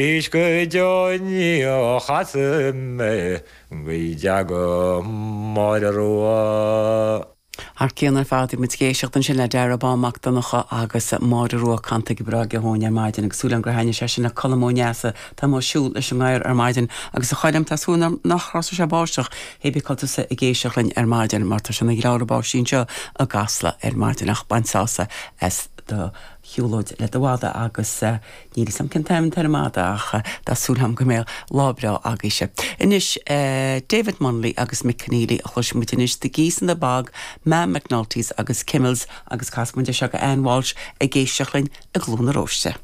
Is go deo ní chasfaidh mé go dteaga Máire Rua. Thar cionn ar fad, bhí muid ag éisteacht ansin le Darragh Bán Mac Donncha agus Máire Rua canta go breá aige dhúinn ar maidin agus súil agam gur thaitnigh sé sin le Colm Ó Neasa atá amuigh ag siúl leis an ngadhar ar maidin agus a Choilm tá súil agam nach throsfaidh sé báisteach hé bith cá bhfuil tusa ag éisteacht linn ar maidin mar tá sé ina ghleáradh báistí anseo i gCasla ar maidin ach bain sásamh as do shiúlóid le do mhadadh agus Níl 'fhios a'm cén t-ainm atá ar an madadh ach tá súil a'm go mbeidh lá breá agaibhse. Anois, David Munnelly agus Mick Conneely a chloisfidh muid anois, The Geese in the Bog, Mam McNulty's agus Kimmels agus casfaidh muid é seo go Ann Walsh ag éisteacht linn i gCluain na Róiste.